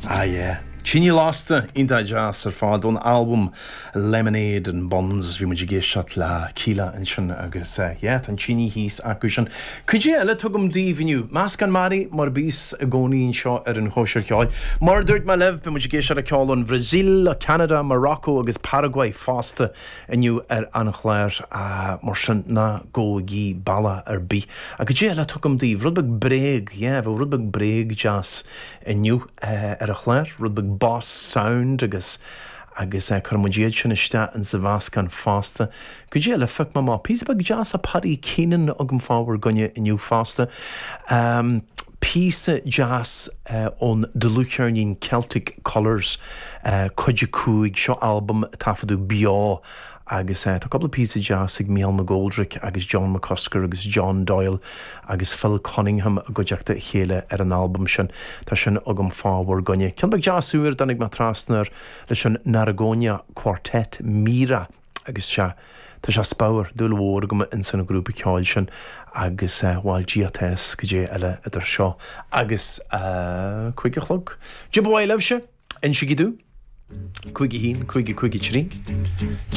Ah yeah. Tine Lasta, iontach deas ar fad ón albam Lemonade and Buns bhí muid ag éisteacht le Kíla ansin agus yeah tá an tine thíos acu sin. Cad é eile atá agam daoibh inniu? Meascán mearaí mar a bíos i gcónaí anseo ar an Chóisir Cheoil. Mar a dúirt mé libh beidh muid ag éisteacht le ceol ón Bhrasaíl, Ceanada, Morocco agus Paraguay fosta inniu ar an chlár, mar sin ná gabhaigí bealach ar bith. Ach cad é eile atá agam daoibh? Rud beag bréag, yeah, bheadh rud beag bréag deas inniu ar an chlár, rud beag Boss Sound agus agus cuirfidh muid iad sin isteach insa mheascán fosta. Cad é eile a phioc mé amach? Píosa beag deas a Paddy Keenan agam fá bhur gcoinne inniu fosta. Píosa deas ón dlúthcheirnín Celtic Colours, Cuid 5, seo albam a taifeadadh beo agus tá cúpla píosa deas ag Mícheál McGoldrick agus John McCusker agus John Doyle agus Phil Cunningham i gcuideachta a chéile ar an albam sin. Tá sin agam fá bhur gcoinne. Ceann beag deas úr a dtáinig mé trasna air leis an Narragonia Quartet, Mira. Agus sea, tá sé speabhar, dúil mhór agam ins an ghrúpa ceoil sin agus bhail Dia atá fhios cad é eile idir seo agus a 5 a chlog. Cad é ba mhaith libhse, insigí domh. 5 1, 5 5 3.